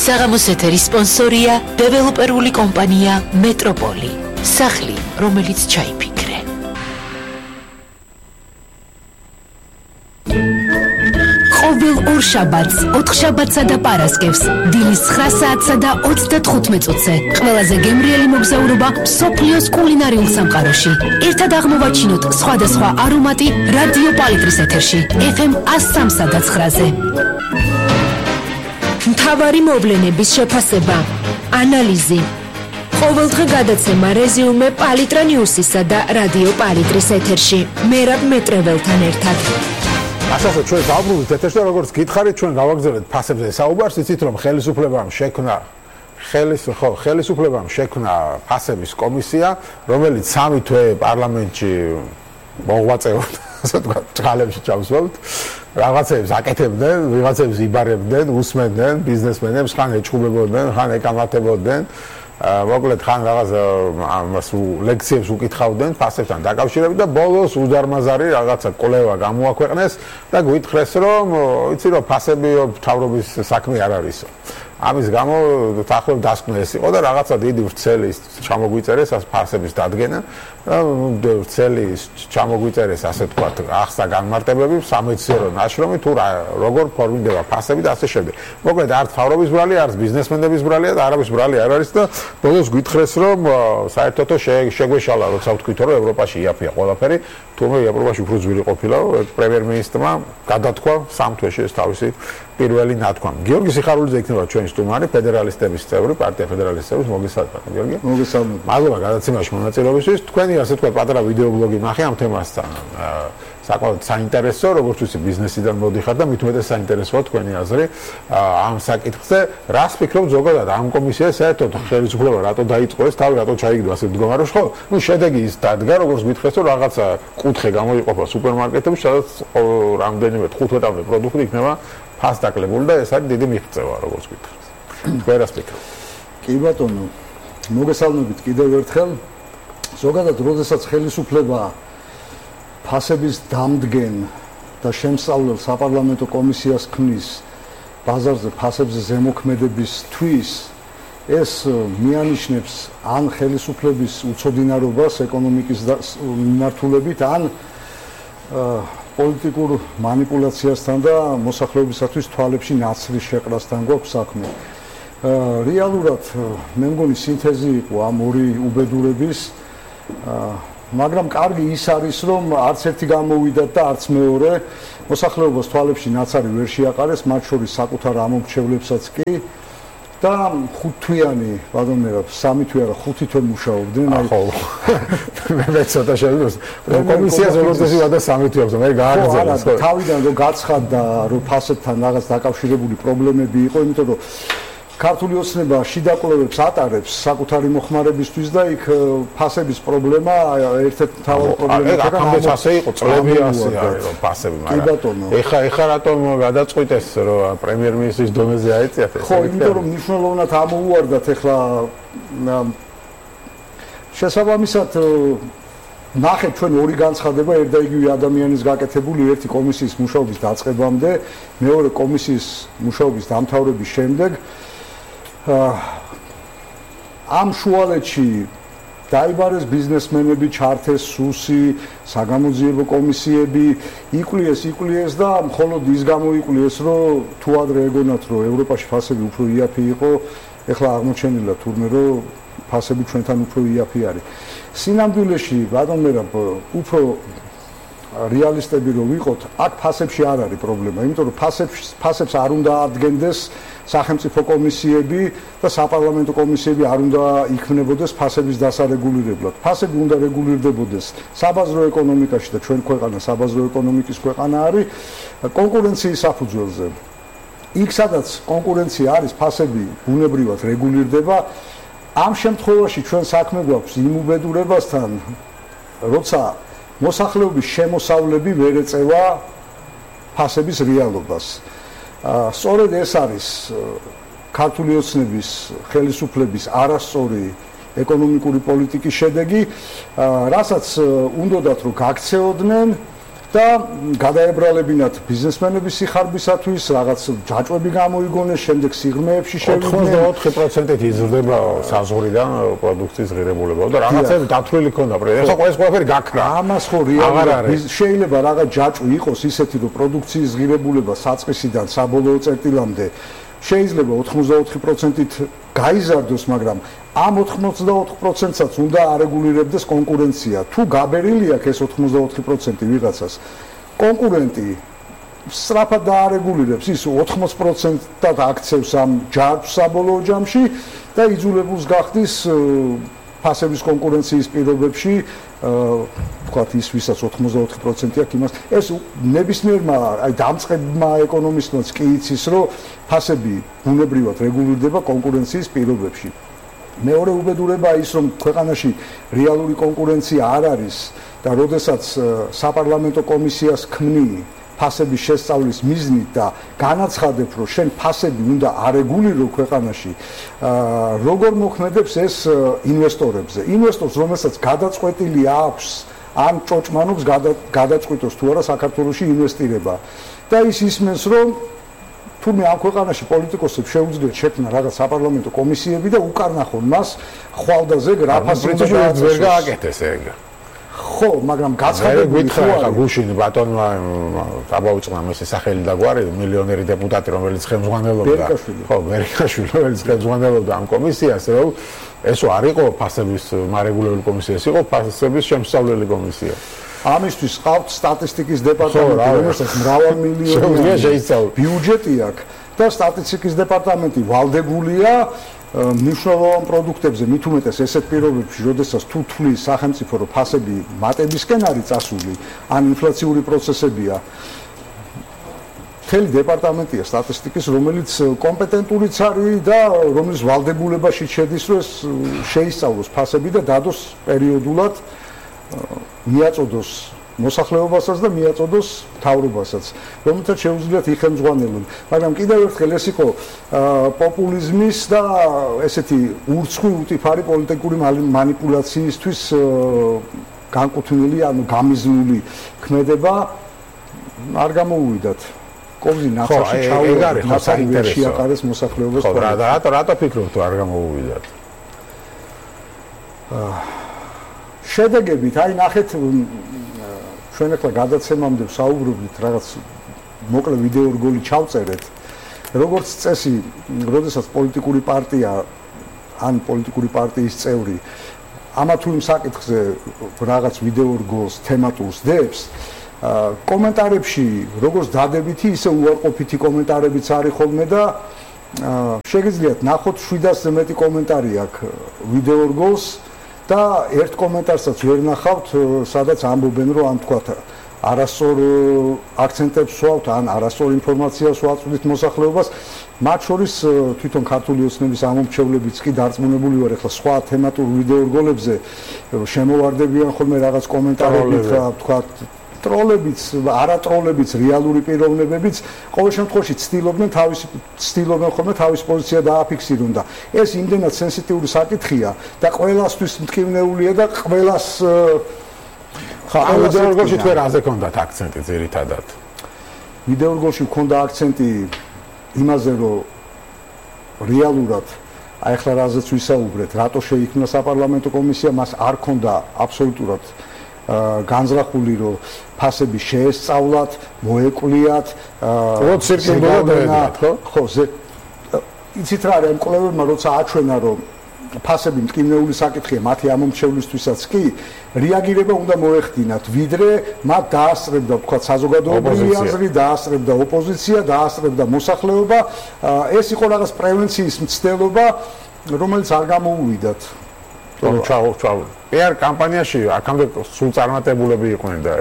საღამოს ეთერის სპონსორია დეველოპერული კომპანია მეტროპოლი. სახლი, რომელიც ჩაიფიქრე. ყოველ ორ შაბათს, 4 შაბათსა და პარასკევს, დილის 9 საათსა და 35 წუთზე, ყველაზე გემრიელი მოგზაურობა მსოფლიოს კულინარიულ სამყაროში. ერთად აღმოვაჩინოთ სხვადასხვა არომატი რადიო პალიტრის ეთერში, FM 103 და 9-ზე. მთავარი მოვლენების შეფასება, ანალიზი. ყოველდღე გადაცემა რეზიუმე პალიტრა ნიუსისა და რადიო პალიტრის ეთერში. მერაბ მეტრეველთან ერთად. ასე ჩვენ დავბრუნდით ეთერში და როგორც გითხარით, ჩვენ გავაგზავნეთ ფასებზე საუბარს, იცით რომ ხელისუფლებამ შექმნა ფასების კომისია, რომელიც 3 თვე პარლამენტში მოღვაწეობდა, ასე ვთქვათ, ჭღალებში ჩავსვათ. რაღაცებს აკეთებდნენ, ვიღაცებს იბარებდნენ, უსმენდნენ ბიზნესმენებს, ხან ეჭუბებოდნენ, ხან ეკამათებოდნენ. მოკლედ ხან რაღაც ამას ლექციებს უკითხავდნენ ფასებთან დაკავშირებით და ბოლოს უზარმაზარი რაღაცა კვლევა გამოაქვეყნეს და გვითხრეს რომ იცი რომ ფასები მთავრობის საქმე არ არისო. ამის გამო თახლობ დასკვნა ეს იყო და რაღაცა დიდი ვრცელი ჩამოგვიწერეს ამ ფასების დადგენა და ვრცელი ჩამოგვიწერეს ასე თქვათ ახსნა განმარტებები სამეცნიერო ნაშრომი თუ როგორ ფორმირდება ფასები და ასე შემდეგ. მოკლედ არც მთავრობის ბრალი, არც ბიზნესმენების ბრალია და არავის ბრალი არ არის და ბოლოს გვითხრეს რომ საერთოდ შეგვეშალა როცა ვთქვით რომ ევროპაში იაფია ყველაფერი, თუმცა ევროპაში უფრო ძვირი ყოფილა პრემიერ-მინისტრმა გადათქვა 3 თვეში ეს თავისი პირველი ნათქვამი. გიორგი სიხარულიძე იქნება ჩვენი სტუმარი, ფედერალისტების წევრი, პარტია ფედერალისტების მოგესალმებით, გიორგი. მოგესალმებით. მადლობა გადაცემაში მონაწილეობისთვის. თქვენი ასე თქვა პატარა ვიდეობლოგი ნახე ამ თემასთან. საკმაოდ საინტერესო, როგორც ვიცი, ბიზნესიდან მოდიხარ და მით უმეტეს საინტერესოა თქვენი აზრი ამ საკითხზე. რას ფიქრობ ზოგადად ამ კომისიას საერთოდ ხელისუფლება რატო დაიწყო ეს თავი რატო ჩაიგდო ასე მდგომარეობაში? ხო, ნუ შედეგი ის დადგა, როგორც გითხრეს, რომ რაღაცა კუთხე გამოიყოფა სუპერმარკეტებში, სადაც რამდენიმე 15 პროდუქტი იქნება ფასდაკლებული და ეს არის დიდი მიღწევა, როგორც გითხრეს. თქვენ რას ფიქრობთ? კი ბატონო, მოგესალმებით კიდევ ერთხელ. ზოგადად, როდესაც ხელისუფლება ფასების დამდგენ და შემსწავლელ საპარლამენტო კომისიას ქმნის ბაზარზე ფასებზე ზემოქმედებისთვის, ეს მიანიშნებს ან ხელისუფლების უცოდინარობას ეკონომიკის მიმართულებით, ან პოლიტიკურ манипуляციასთან და მოსახლეობისათვის თვალებში ნაცრის შეყრასთან გვაქვს საქმე. რეალურად მე მგონი სინთეზი იყო ამ ორი უბედურების, მაგრამ კარგი ის არის, რომ არც ერთი გამოვიდათ და არც მეორე მოსახლეობას თვალებში ნაცარი ვერ შეაყარეს, მათ შორის საკუთარ ამომრჩევლებსაც კი. და 5 თვიანი, ბატონო, 3 თვე არა, 5 თვე მუშაობდნენ. ხო. მე ცოტა შევიდრე. კომისიას როდესაც ვიდა 3 თვე აქვს, მე გააგრძელეს. ხო, თავიდან რომ გაცხადდა, რომ ფასებთან რაღაც დაკავშირებული პრობლემები იყო, იმიტომ რომ ქართული ოცნება შიდა კვლევებს ატარებს საკუთარი მოხმარებისთვის და იქ ფასების პრობლემა ერთ-ერთი მთავარი პრობლემაა. აქამდე ასე იყო, წლები ასე არის, რომ ფასები, მაგრამ ეხა რატომ გადაწყვიტეს, რომ პრემიერ-მინისტრის დონეზე აეწიათ ეს? ხო, იმიტომ რომ მნიშვნელოვნად ამოუვარდათ ეხლა შესაბამისად ნახეთ ჩვენ ორი განცხადება ერთ და იგივე ადამიანის გაკეთებული ერთი კომისიის მუშაობის დაწყებამდე, მეორე კომისიის მუშაობის დამთავრების შემდეგ ამ შუალედში დაიბარეს ბიზნესმენები, ჩართეს სუსი, საგამოძიებო კომისიები, იკვლიეს და მხოლოდ ის გამოიკვლიეს, რომ თუ ადრე ეგონათ, რომ ევროპაში ფასები უფრო იაფი იყო, ეხლა აღმოჩენილა თურმე, რომ ფასები ჩვენთან უფრო იაფი არის. სინამდვილეში, ბატონო, უფრო რეალისტები რო ვიყოთ, აქ ფასებში არ არის პრობლემა, იმიტომ რომ ფასებს არ უნდა ადგენდეს სახელმწიფო კომისიები და საპარლამენტო კომისიები არ უნდა იქმნებოდეს ფასების დასარეგულირებლად. ფასები უნდა რეგულირდებოდეს საბაზრო ეკონომიკაში და ჩვენ ქვეყანა საბაზრო ეკონომიკის ქვეყანა არის კონკურენციის საფუძველზე. იქ სადაც კონკურენცია არის, ფასები ბუნებრივად რეგულირდება. ამ შემთხვევაში ჩვენ საქმე გვაქვს იმ უბედურებასთან, როცა მოსახლეობის შემოსავლები ვერ ეწევა ფასების რეალობას. სწორედ ეს არის ქართული ოცნების ხელისუფლების არასწორი ეკონომიკური პოლიტიკის შედეგი, რასაც უნდათ რომ გაქცეოდნენ და გადაებრალებინათ ბიზნესმენების სიხარბისათვის, რაღაც ჯაჭვები გამოიგონეს, შემდეგ სიღრმეებში შევიდნენ. 84%-ით იზრდება საზღვრიდან პროდუქციის ღირებულება და რაღაცები დათვლილი ქონდა პრემიერ. ეხლა ყველაფერი გაქრა. ამას ხო რეალურად შეიძლება რაღაც ჯაჭვი იყოს ისეთი, რომ პროდუქციის ღირებულება საწყისიდან საბოლოო წერტილამდე შეიძლება 84%-ით გაიზარდოს, მაგრამ ამ 84%-საც უნდა არეგულირებდეს კონკურენცია. თუ გაბერილი აქვს ეს 84% ვიღაცას, კონკურენტი სწრაფად დაარეგულირებს, ის 80%-ად აქცევს ამ ჯარჯს საბოლოო ჯამში და იძულებულს გახდის ფასების კონკურენციის პირობებში, ვთქვათ, ის ვისაც 84% აქვს იმას, ეს ნებისმიერმა, აი დამწყებმა ეკონომისტმაც კი იცის, რომ ფასები ბუნებრივად რეგულირდება კონკურენციის პირობებში. მეორე უბედურებაა ის, რომ ქვეყანაში რეალური კონკურენცია არ არის და როდესაც საპარლამენტო კომისიას ქმნი ფასების შესწავლის მიზნით და განაცხადებ, რომ შენ ფასები უნდა არეგულირო ქვეყანაში, როგორ მოქმედებს ეს ინვესტორებზე. ინვესტორს, რომელსაც გადაწყვეტილი აქვს ან ჭოჭმანობს გადაწყვიტოს თუ არა საქართველოში ინვესტირება. და ის ისმენს, რომ თურმე ამ ქვეყანაში პოლიტიკოსებს შეუძლიათ შექმნა რაღაც საპარლამენტო კომისიები და უკარნახონ მას ხვალდაზე რა ფასი უნდა ვერ გააკეთეს ეგ. ხო, მაგრამ გაცხადებული ხარ გუშინი ბატონმა დაბაუწყნა მისი სახელი და გვარი მილიონერი დეპუტატი რომელიც ხელმძღვანელობდა. ხო, მერიკაშვილი რომელიც ხელმძღვანელობდა ამ კომისიას, რომ ესო არ იყო ფასების მარეგულირებული კომისია, ეს იყო ფასების შემსწავლელი კომისია. ამისთვის ყავთ სტატისტიკის დეპარტამენტი, რომელსაც მრავალმილიონიანი ბიუჯეტი აქვს და სტატისტიკის დეპარტამენტი ვალდებულია მნიშვნელოვან პროდუქტებზე, მით უმეტეს ესეთ პირობებში, როდესაც თუ თვლის სახელმწიფო, რომ ფასები მატებისკენ არის წასული, ან ინფლაციური პროცესებია, მთელი დეპარტამენტია სტატისტიკის, რომელიც კომპეტენტურიც არის და რომლის ვალდებულებაში შედის, რომ ეს შეისწავლოს ფასები და დადოს პერიოდულად მიაწოდოს მოსახლეობასაც და მიაწოდოს მთავრობასაც, რომელთაც შეუძლიათ იხელმძღვანელონ. მაგრამ კიდევ ერთხელ ეს იყო პოპულიზმის და ესეთი ურცხვი უტიფარი პოლიტიკური манипуляციისთვის განკუთვნილი, ანუ გამიზნული ქმედება არ გამოუვიდათ. კობზი ნაცარში ჩაუვარდა, ნაცარი ვერ შეაყარეს მოსახლეობას. ხო, რატო ფიქრობთ, არ გამოუვიდათ? შედეგებით, აი ნახეთ ჩვენ ახლა გადაცემამდე ვსაუბრობთ რაღაც მოკლე ვიდეო რგოლი ჩავწერეთ. როგორც წესი, როდესაც პოლიტიკური პარტია ან პოლიტიკური პარტიის წევრი ამა თუ იმ საკითხზე რაღაც ვიდეო რგოლს თემატურს დებს, კომენტარებში როგორც დადებითი, ისე უარყოფითი კომენტარებიც არის ხოლმე და შეგიძლიათ ნახოთ 700-ზე მეტი კომენტარი აქვს ვიდეო რგოლს და ერთ კომენტარსაც ვერ ნახავთ, სადაც ამბობენ, რომ ამ თქვა არასწორ აქცენტებს ვსვავთ ან არასწორ ინფორმაციას ვაწვდით მოსახლეობას, მათ შორის თვითონ ქართული ოცნების ამომრჩევლებიც კი დარწმუნებული ვარ, ახლა სხვა თემატურ ვიდეო რგოლებზე შემოვარდებიან ხოლმე რაღაც კომენტარებით, თქვა ტროლებიც, არატროლებიც, რეალური პიროვნებებიც, ყოველ შემთხვევაში ცდილობენ ხოლმე თავის პოზიცია დააფიქსირონ და ეს იმდენად სენსიტიური საკითხია და ყველასთვის მტკივნეულია და ყველას ხა ვიდეო რგოლში თქვენ რაზე გქონდათ აქცენტი ძირითადად? ვიდეო რგოლში მქონდა აქცენტი იმაზე, რომ რეალურად აი ახლა რაზეც ვისაუბრეთ, რატო შეიქმნა საპარლამენტო კომისია, მას არ ქონდა აბსოლუტურად განზრახული, რომ ფასები შეესწავლათ, მოეკვლიათ, ხო, იცით რა არის, კვლევებმა როცა აჩვენა, რომ ფასები მტკივნეული საკითხია მათი ამომრჩევლისთვისაც კი, რეაგირება უნდა მოეხდინათ, ვიდრე მათ დაასწრებდა, თქვა, საზოგადოებრივი აზრი, დაასწრებდა ოპოზიცია, დაასწრებდა მოსახლეობა, ეს იყო რაღაც პრევენციის მცდელობა, რომელიც არ გამოუვიდათ. PR კამპანიაში აქამდე სულ წარმატებულები იყვნენ და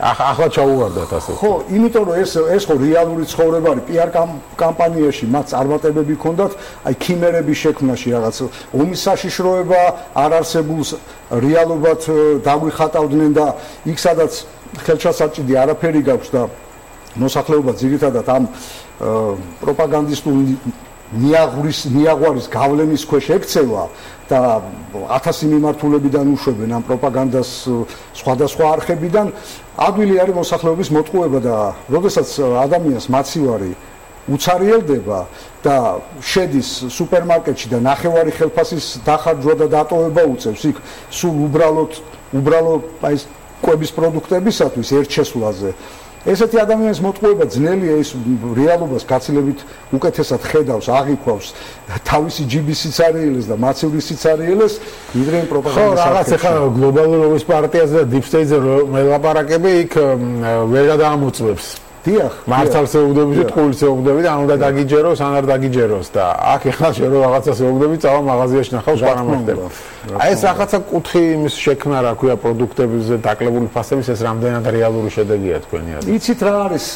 ახლა ჩაუვარდათ ასე. ხო, იმიტომ რომ ეს ხო რეალური ცხოვრება არის. PR კამპანიაში მათ წარმატებები ჰქონდათ, აი ქიმერების შექმნაში რაღაც ომის საშიშროება არ არსებულს რეალობად დაგვიხატავდნენ და იქ სადაც ხელშასაჭიდი არაფერი გაქვს და მოსახლეობა ძირითადად ამ პროპაგანდისტულ ნიაღვრის გავლენის ქვეშ ექცევა და 1000 მიმართულებიდან უშვებენ ამ პროპაგანდას სხვადასხვა არხებიდან, ადვილი არის მოსახლეობის მოტყუება და როდესაც ადამიანს მაცივარი უცარიელდება და შედის სუპერმარკეტში და ნახევარი ხელფასის დახარჯვა და დატოვება უწევს იქ სულ უბრალო აი კვების პროდუქტებისათვის ერთ შესვლაზე. ესეთი ადამიანის მოტყუება ძნელია, ის რეალობას გაცილებით უკეთესად ხედავს, აღიქვავს თავისი ჯიბის სიცარიელეს და მაცივრის სიცარიელეს, ვიდრე პროპაგანდის. ხო, რაღაც ახლა გლობალურობის პარტიაზე და დიპ სტეიტზე მელაპარაკები იქ ვერ გადაამოწმებს. დიახ, მართალს ეუბნები და ტყუილს ეუბნები და ანუ და დაგიჯეროს, ან არ დაგიჯეროს და აქ ახლა შენ რო რაღაცას ეუბნები, წავა მაღაზიაში ნახავს პარამეტრებს. აი ეს რაღაცა კუთხი იმის შექმნა, რა ქვია, პროდუქტებზე დაკლებული ფასების, ეს რამდენად რეალური შედეგია თქვენი აზრით? იცით რა არის,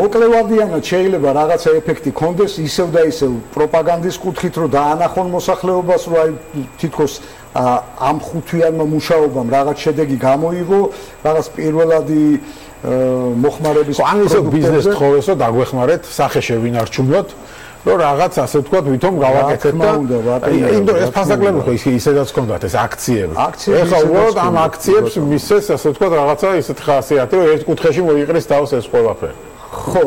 მოკლევადიანად შეიძლება რაღაცა ეფექტი კონდეს, ისევ და ისევ პროპაგანდის კუთხით, რომ დაანახონ მოსახლეობას, რომ აი თითქოს ამ ხუთვიანმა მუშაობამ რაღაც შედეგი გამოიღო, რაღაც პირველადი მოხმარების ან ისე ბიზნეს თხოვესო დაგვეხმარეთ, სახე შევინარჩუნოთ, რომ რაღაც ასე ვთქვათ, ვითომ გავაკეთეთ და იმდო ეს ფასაკლები ხო ისედაც ჰქონდათ ეს აქციები. ეხლა უბრალოდ ამ აქციებს მისცეს ასე ვთქვათ რაღაცა ისეთ ხასიათი, რომ ერთ კუთხეში მოიყრის თავს ეს ყველაფერი. ხო,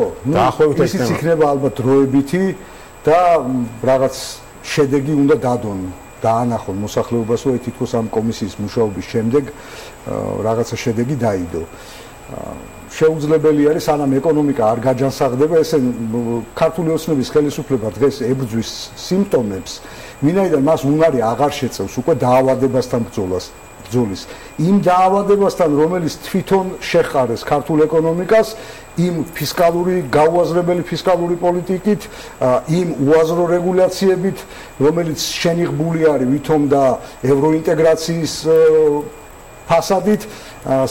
ისიც იქნება ალბათ დროებითი და რაღაც შედეგი უნდა დადონ. დაანახონ მოსახლეობას, რომ თითქოს ამ კომისიის მუშაობის შემდეგ რაღაცა შედეგი დაიდო. შეუძლებელი არის, სანამ ეკონომიკა არ გაჯანსაღდება, ესე ქართული ოცნების ხელისუფლება დღეს ებრძვის სიმპტომებს, ვინაიდან მას უნარი აღარ შეწევს უკვე დაავადებასთან ბრძოლის. იმ დაავადებასთან, რომელიც თვითონ შეხარეს ქართულ ეკონომიკას, იმ გაუაზრებელი ფისკალური პოლიტიკით, იმ უაზრო რეგულაციებით, რომელიც შენიღბული არის ვითომ და ევროინტეგრაციის ფასადით,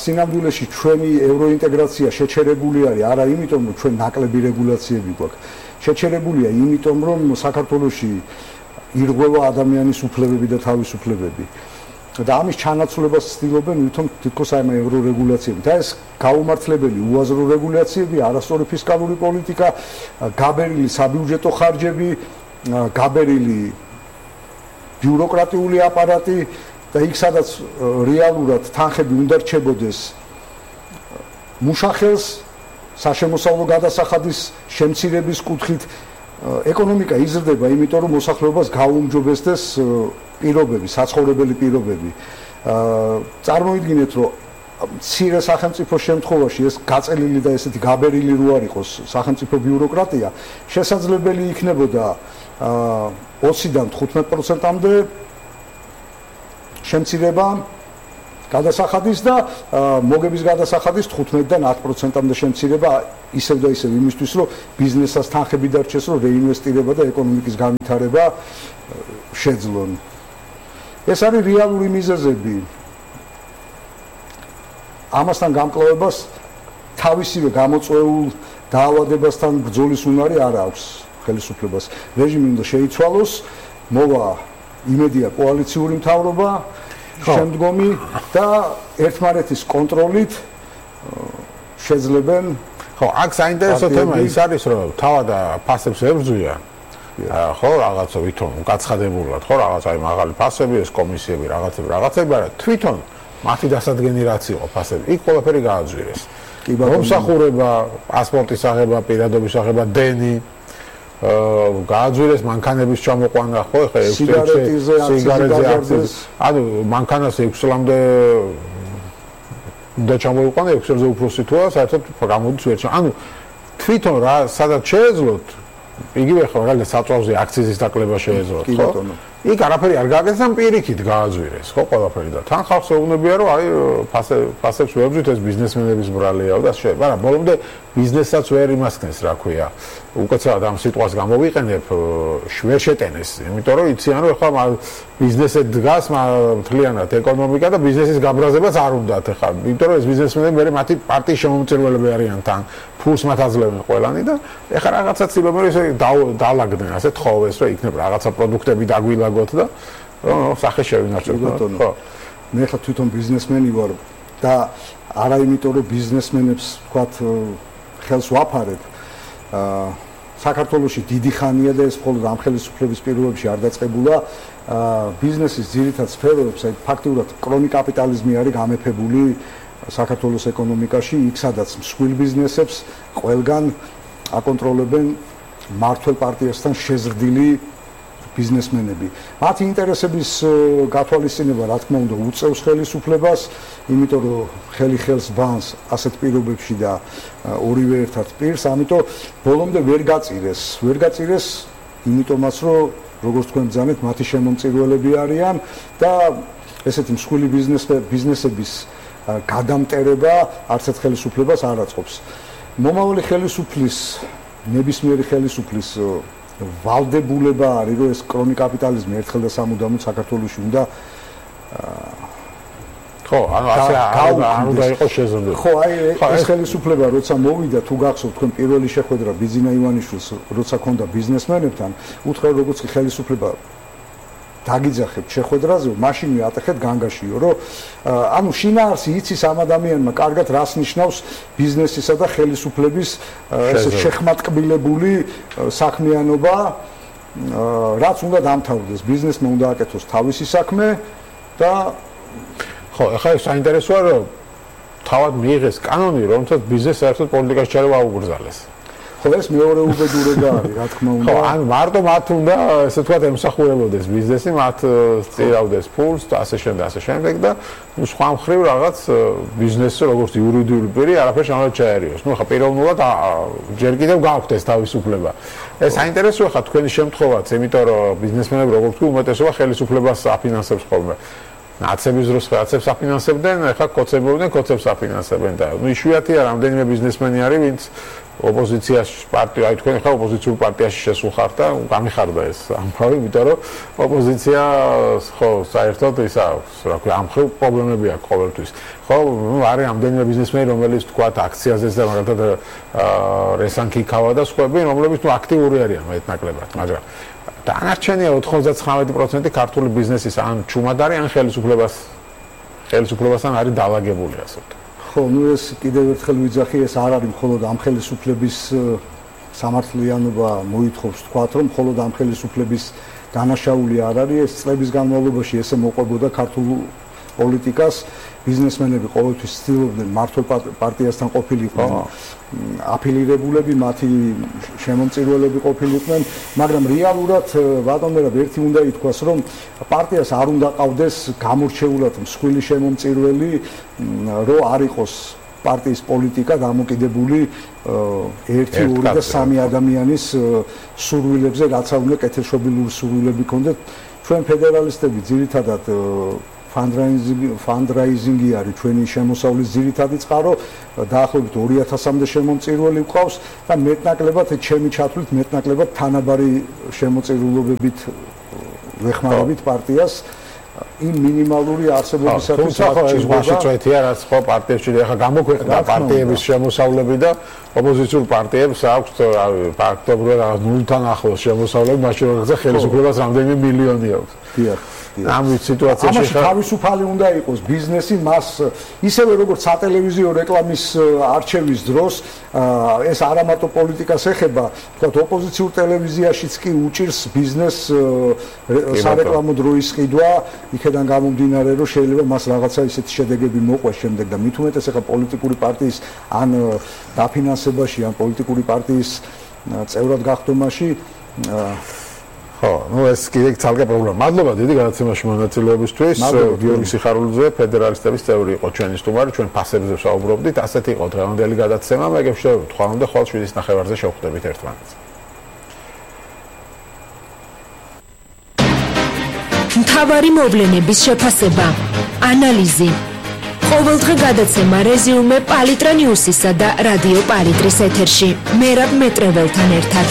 სინამდვილეში ჩვენი ევროინტეგრაცია შეჩერებული არის არა იმიტომ, რომ ჩვენ ნაკლები რეგულაციები გვაქვს. შეჩერებულია იმიტომ, რომ საქართველოში ირღვევა ადამიანის უფლებები და თავისუფლებები. და ამის ჩანაცვლებას ცდილობენ ვითომ თითქოს აი ევრორეგულაციები. და ეს გაუმართლებელი უაზრო რეგულაციები, არასწორი ფისკალური პოლიტიკა, გაბერილი საბიუჯეტო ხარჯები, გაბერილი ბიუროკრატიული აპარატი და იქ სადაც რეალურად თანხები უნდა რჩებოდეს მუშახელს საშემოსავლო გადასახადის შემცირების კუთხით, ეკონომიკა იზრდება, იმიტომ რომ მოსახლეობას გაუმჯობესდეს პირობები, საცხოვრებელი პირობები. წარმოიდგინეთ, რომ მცირე სახელმწიფო შემთხვევაში ეს გაწელილი და ესეთი გაბერილი რო არ იყოს სახელმწიფო ბიუროკრატია, შესაძლებელი იქნებოდა 20-დან 15%-მდე შემცირება გადასახადის და მოგების გადასახადის 15-დან 10%-მდე შემცირება ისევ და ისევ იმისთვის, რომ ბიზნესას თანხები დარჩეს, რომ რეინვესტირება და ეკონომიკის განვითარება შეძლონ. ეს არის რეალური მიზეზები. ამასთან გამკლავებას თავისივე გამოწვეულ დაავადებასთან ბრძოლის უნარი არ აქვს ხელისუფლებას. რეჟიმი უნდა შეიცვალოს, მოვა იმედია კოალიციური მთავრობა შემდგომი და ერთმანეთის კონტროლით შეძლებენ. ხო, აქ საინტერესო თემა ის არის, რომ თავად ფასებს ებრძვია. ხო, რაღაცა ვითომ გაცხადებულად, ხო, რაღაცა აი მაღალი ფასები, ეს კომისიები, რაღაცები, არა, თვითონ მათი დასადგენი რაც იყო ფასები, იქ ყველაფერი გააძვირეს. მომსახურება, პასპორტის აღება, პირადობის აღება, დენი გააძვირეს მანქანების ჩამოყვანა, ხო, ხე სიგარეტზე აქციზი. ანუ მანქანას 6 წლამდე უნდა ჩამოიყვანა 6 წელზე უფროსი თუა, საერთოდ გამოდის ვერ ჩა. ანუ თვითონ რა სადაც შეეძლოთ იგივე ხო მაგალითად საწვავზე აქციზის დაკლება შეეძლოთ, ხო? იქ არაფერი არ გააკეთეს და პირიქით გააძვირეს, ხო, ყველაფერი და თან ხალხს ეუბნებია, რომ აი ფასებს ვებრძვით, ეს ბიზნესმენების ბრალია და შეიძლება, მაგრამ ბოლომდე ბიზნესაც ვერ იმასქნეს, რა ქვია. უკაცრავად ამ სიტყვას გამოვიყენებ, ვერ შეტენეს, იმიტომ რომ იციან, რომ ახლა ბიზნესზე დგას მთლიანად ეკონომიკა და ბიზნესის გაბრაზებაც არ უნდათ ახლა, იმიტომ რომ ეს ბიზნესმენები მე მათი პარტიის შემომწირველები არიან თან, ფულს მათ აძლევენ ყველანი და ახლა რაღაცა ცდილობენ ისე დაალაგდნენ, ასე თხოვეს, რომ იქნებ რაღაცა პროდუქტები დაგვილაგოთ და სახე შევინარჩუნოთ. ხო. მე ხა თვითონ ბიზნესმენი ვარ და არა იმიტომ რომ ბიზნესმენებს ვთქვათ ხელს ვაფარებ. საქართველოში დიდი ხანია და ეს მხოლოდ ამ ხელისუფლების პირობებში არ დაწყებულა. ბიზნესის ძირითად სფეროებს, აი ფაქტიურად კრონი კაპიტალიზმი არის გამეფებული საქართველოს ეკონომიკაში, იქ სადაც მსხვილ ბიზნესებს ყველგან აკონტროლებენ მართლ პარტიასთან შეზრდილი ბიზნესმენები. მათი ინტერესების გათვალისწინება, რა თქმა უნდა, უწევს ხელისუფლებას, იმიტომ რომ ხელი ხელს ბანს ასეთ პირობებში და ორივე ერთად პირს, ამიტომ ბოლომდე ვერ გაწირეს, იმიტომაც რომ როგორც თქვენ ბრძანეთ, მათი შემომწირველები არიან და ესეთი მსხვილი ბიზნესების გადამტერება არც ერთ ხელისუფლებას არ აწყობს. მომავალი ხელისუფლის, ნებისმიერი ხელისუფლის ვალდებულება არის, რომ ეს კრონი კაპიტალიზმი ერთხელ და სამუდამოდ საქართველოში უნდა ხო, ანუ ასე არ უნდა იყოს შეზრდილი. ხო, აი ეს ხელისუფლება როცა მოვიდა, თუ გახსოვთ თქვენ პირველი შეხვედრა ბიძინა ივანიშვილს, როცა ქონდა ბიზნესმენებთან, უთხრა როგორც კი ხელისუფლება დაგიძახებთ შეხვედრაზე, მაშინვე ატეხეთ განგაშიო, რომ ანუ შინაარსი იცის ამ ადამიანმა კარგად რას ნიშნავს ბიზნესისა და ხელისუფლების ესე შეხმატკბილებული საქმიანობა, რაც უნდა დამთავრდეს, ბიზნესმა უნდა აკეთოს თავისი საქმე და ხო, ახლა ეს საინტერესოა, რომ თავად მიიღეს კანონი, რომელსაც ბიზნესს საერთოდ პოლიტიკაში ჩარევა აუგრძალეს. ხო, ეს მეორე უბედურება არის, რა თქმა უნდა. ხო, ანუ მარტო მათ უნდა, ესე ვთქვათ, ემსახურებოდეს ბიზნესი, მათ წირავდეს ფულს და ასე შემდეგ და სხვა მხრივ რაღაც ბიზნესი როგორც იურიდიული პირი არაფერს არ ჩაერიოს. ნუ ხა პიროვნულად ჯერ კიდევ გააქვთ ეს თავისუფლება. ეს საინტერესოა ხა თქვენი შემთხვევაც, იმიტომ რომ ბიზნესმენები როგორც კი უმეტესობა ხელისუფლებას აფინანსებს ხოლმე. ნაცების დროს რაღაცებს აფინანსებდნენ, ახლა კოცებს აფინანსებენ და ნუ იშვიათია რამდენიმე ბიზნესმენი არის, ვინც ოპოზიციაში პარტია, აი თქვენ ხა ოპოზიციურ პარტიაში შესულხართ და გამიხარდა ეს ამბავი, იმიტომ რომ ოპოზიცია ხო საერთოდ ისა რა ქვია ამ ხელ პრობლემები აქვს ყოველთვის. ხო, ნუ არის რამდენიმე ბიზნესმენი, რომელიც თქვათ აქციაზეც და მაგალითად რესანკი ქავა და სხვები, რომლებიც ნუ აქტიური არიან მეტნაკლებად, მაგრამ დანარჩენია 99% ქართული ბიზნესის ან ჩუმად არის, ან ხელისუფლებასთან არის დაალაგებული, ასე ვთქვათ. ხო, ნუ ეს კიდევ ერთხელ ვიძახი, ეს არ არის მხოლოდ ამ ხელისუფლების სამართლიანობა მოითხოვს თქვათ, რომ მხოლოდ ამ ხელისუფლების დანაშაული არ არის, ეს წლების განმავლობაში ესე მოყვებოდა ქართულ პოლიტიკას ბიზნესმენები ყოველთვის ცდილობდნენ მართლ პარტიასთან ყოფილიყვნენ აფილირებულები, მათი შემომწირველები ყოფილიყვნენ, მაგრამ რეალურად ბატონო ერთი უნდა ითქვას, რომ პარტიას არ უნდა ყავდეს გამორჩეულად მსხვილი შემომწირველი, რომ არ იყოს პარტიის პოლიტიკა დამოკიდებული 1, 2 და 3 ადამიანის სურვილებზე, რაც არ უნდა კეთილშობილური სურვილები ქონდეთ. ჩვენ ფედერალისტები ძირითადად fundraising-ი არის ჩვენი შემოსავლის ძირითადი წყარო, დაახლოებით 2000-მდე შემომწირველი გვყავს და მეტნაკლებად ჩემი ჩათვლით მეტნაკლებად თანაბარი შემოწირულობებით ვეხმარებით პარტიას იმ მინიმალური არსებობისათვის ეს მაშიწვეთია რაც ხო პარტიებში ახლა გამოქვეყნდა პარტიების შემოსავლები და ოპოზიციურ პარტიებს აქვს ფაქტობრივად 0-თან ახლოს შემოსავლები, მაშინ როცა ხელისუფლებას რამდენიმე მილიონი აქვს. დიახ. ამ სიტუაციაში თავისუფალი უნდა იყოს ბიზნესი, მას ისევე როგორც სატელევიზიო რეკლამის არჩევის დროს ეს არა მარტო პოლიტიკას ეხება, თქვათ ოპოზიციურ ტელევიზიაშიც კი უჭირს ბიზნესს სარეკლამო დროის ყიდვა, იქედან გამომდინარე, რომ შეიძლება მას რაღაცა ისეთი შედეგები მოყვეს შემდეგ და მით უმეტეს ახლა პოლიტიკური პარტიის ან დაფინანსებაში, ან პოლიტიკური პარტიის წევრად გახდომაში ხო, ну ეს კიდე ცალკე პრობლემა. მადლობა დიდი გადაცემაში მონაწილეობისთვის. გიორგი სიხარულიძე, ფედერალისტების წევრი იყო ჩვენი სტუმარი, ჩვენ ფასებზე ვსაუბრობდით. ასეთი იყო დღევანდელი გადაცემა. მე გეშევთ ხვალამდე ხვალ 7:30-ზე შევხვდებით ერთმანეთს. მთავარი მოვლენების შეფასება, ანალიზი. ყოველდღე გადაცემა რეზიუმე პალიტრა ნიუსისა და რადიო პალიტრის ეთერში. მერაბ მეტრეველთან ერთად.